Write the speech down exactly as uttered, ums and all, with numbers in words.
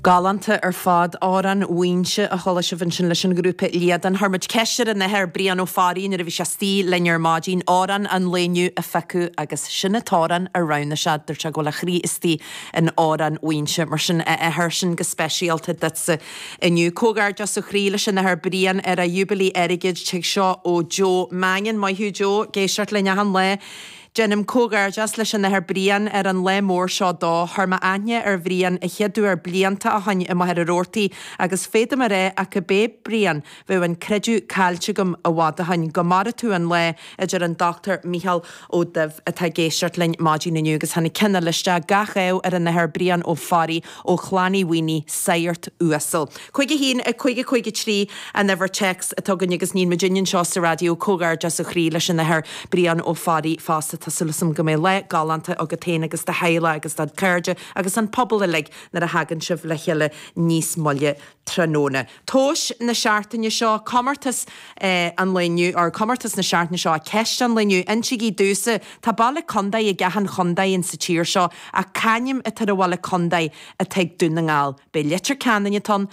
Galánta ar fad Amhrán Mhaínse a chuala sibh ansin leis an ghrúpa Líadan. Chuir muid ceist ar an Athair Brian Ó Fearraigh nuair a bhí sé istigh linn ar maidin amhrán an lae inniu a phiocadh agus sin an t-amhrán a roghnaigh sé dúirt sé go bhfuil a chroí istigh in Amhrán Mhaínse mar sin a athair sin go speisialta duitse inniu. Comhghairdeas ó chroí leis an Athair Brian ar a Jubilee airgid tig seo ó Joe Mangan maith thú Joe ag éisteacht linn achan lá. Déanaim comhghairdeas leis an Athair Brian ar an lá mór seo dó chuir mé aithne ar Bhrian an chéad uair blianta ó shin i Machaire Rabhartaigh agus féadaim a rá ach gurb é Brian bheadh an creideamh caillte agam i bhfad ó shin go maire tú an lá a deir an Dr. Micheál Ó Duibh atá ag éisteacht linn maidin inniu agus tháinig ceann eile isteach gach ádh ar an Athair Brian Ó Fearraigh ó Chlann Uí Mhaonaigh Sagart uasal. Cúig a haon a cúig a cúig a trí an uimhir téacs atá againn agus níl muid anseo sa raidió comhghairdeas ó chroí leis an Athair Brian Ó Fearraigh fosta tá súil agam go mbeidh lá galánta agat féin agus do theaghlach agus do chairde agus an pobal uilig nuair a thagann sibh le chéile níos moille tráthnóna. Tomhas na seachtaine seo comórtas eh, an lae inniu ar comórtas na seachtaine seo ceist an lae inniu insígí domhsa Tá baile contae ag achan chontae in sa tír seo ach c'ainm atá ar an bhaile contae atá ag Dún na nGall. B'é Leitir Ceanainn atá